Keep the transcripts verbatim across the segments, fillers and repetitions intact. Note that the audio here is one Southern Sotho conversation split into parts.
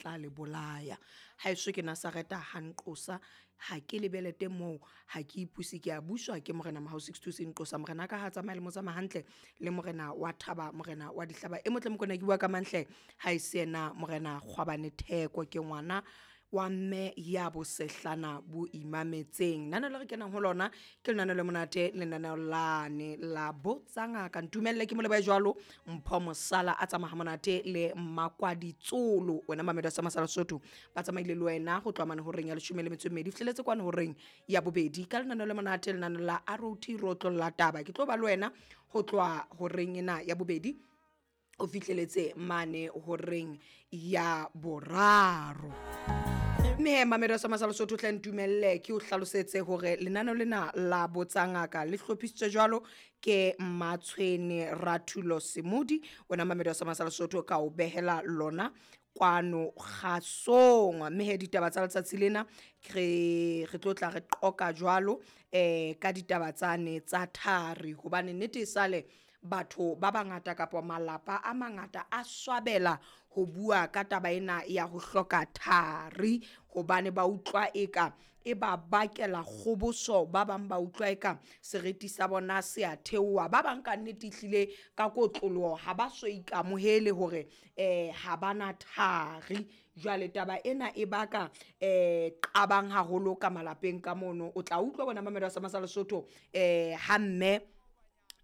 Tla le bolaya. Haeso ke Nazareta ha nqosa, ha ke lebelete moo, ha ke ipuse, ke a buswa ke morena Mahao six two Nqosa. Morena ka ha tsamaya le mo tsamaya hantle le morena wa thaba, morena wa dihlaba e motle mokona ke bua ka manhle ha e se yena morena Kgwabane Theko, ke ngwana wa mme ya bosehlana bo imametseng. Lenaneo le re kenang ho lona ke lenaneo le monate, lenaneo lane la Botsa Ngaka. Ntumelle ke mo lebohe jwalo Mpho Mosala a tsamaya monate le Makwaditsolo, wena Mamedo sa Masala Sotho ba tsamaile le wena ho tloha mane horeng ya leshome le metso e mmedi fihleletse kwana horeng ya bobedi ka lenaneo le monate, lenaneo la R O T rotlolla taba. Ke tlo ba le wena ho tloha horeng ena ya bobedi o fihleletse mane horeng ya boraro. Mme Mamedo sa Masala Sotho, tle ntumelle ke o hlalosetse hore lenaneo lena la Botsa Ngaka le hlophisitswe jwalo ke Matshwene Rathulo Semodi, wena Mamedo sa Masala Sotho, ka o behela lona kwano kgasong. Mme he ditaba tsa letsatsi lena re re tlo tla re qoka jwalo eh ka ditaba tsane tsa thari, hobane nnete e sale batho ba bangata kapa malapa a mangata a swabela ho bua ka taba ena ya ho hloka thari, hobane ba utlwa eka e ba bakela kgoboso, ba bang ba utlwa eka seriti sa bona se a theoha, ba bang ka nnete ehlile ka kotloloho ha ba so ikamohele hore eh ha bana thari. Jwale taba ena e baka eh qabang haholo ka malapeng ka mono. O tla utlwa bona Mamedo sa Masala Sotho eh ha mme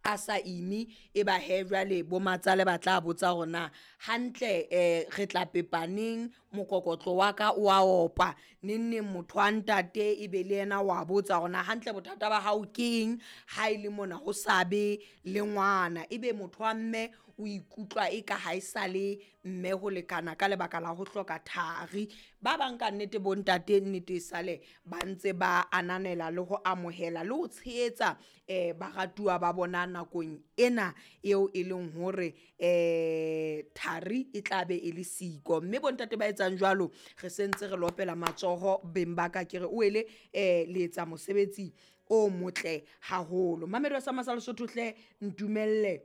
a sa ime, e ba he jwale bo matsale ba tla botsa hore na hantle eh re tla pepaneng, mokokotlo wa ka o a opa neng neng, motho wa ntate e be le yena wa botsa hore na hantle bothata ba hao keng ha e le mona ho sa be le ngwana, ebe motho wa mme o ikutlwa e ka ha e sa le mme ho lekana ka lebaka la ho hloka thari. Ba bang ka nnete bontate nnete e sale ba ntse ba ananela le ho amohela le ho tshehetsa eh baratuwa ba bona nakong ena eo e leng hore eh thari e tla be e le siko. Mme bontate ba etsang jwalo re sentse re lopela matsoho beng ba ka, ke re o ele eh le etsa mosebetsi o motle haholo. Mamedo sa Masala Sotho, hle ntumelle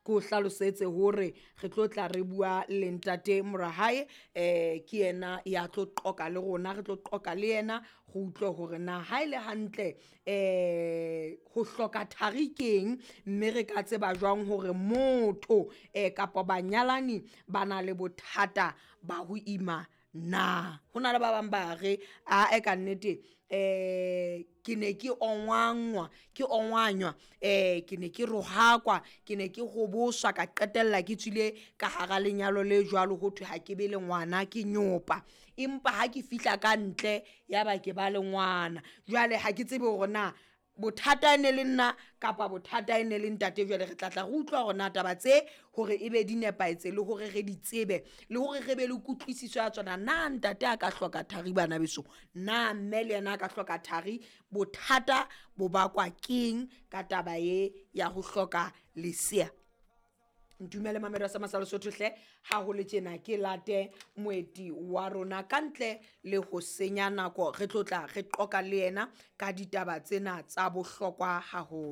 ke o hlalosetse hore re tlo tla re bua le ntate Morahae, eh ke yena ya tlo qoka le rona, re tlo qoka le yena re utlwe hore na ha ile hantle eh ho hloka thari keng, mme re ka tseba jwang hore motho eh kapa banyalani ba na le bothata ba ho ima. Na ho na le ba bang ba re a e ka nnete eh ke ne ke ongwangwa, ke ongwanywa, eh ke ne ke rohakwa, ke ne ke hoboswa, ka qetella ke tswile ka hara lenyalo le jwalo, ho thwe ha ke be le ngwana ke nyopa, empa ha ke fihla ka ntle ya ba ke ba le ngwana. Jwale ha ke tsebe hore na bothata e ne le nna kapa bothata e ne le ntate. Jwale re tla tla re utlwa hore na taba tse hore e be di nepahetse le hore re di tsebe le hore re be le kutlwisiso ya tsona. Na ntate a ka hloka thari, bana beso? Na mme le yena a ka hloka thari? Bothata bo bakwa keng ka taba e ya ho hloka lesea? Ntumele Mamedo sa Masala Sotho hle, ha ho le tjena ke late moeti wa rona ka ntle le ho senya nako, re tlo tla re qoka le yena ka ditaba tsena tsa bohlokwa haholo.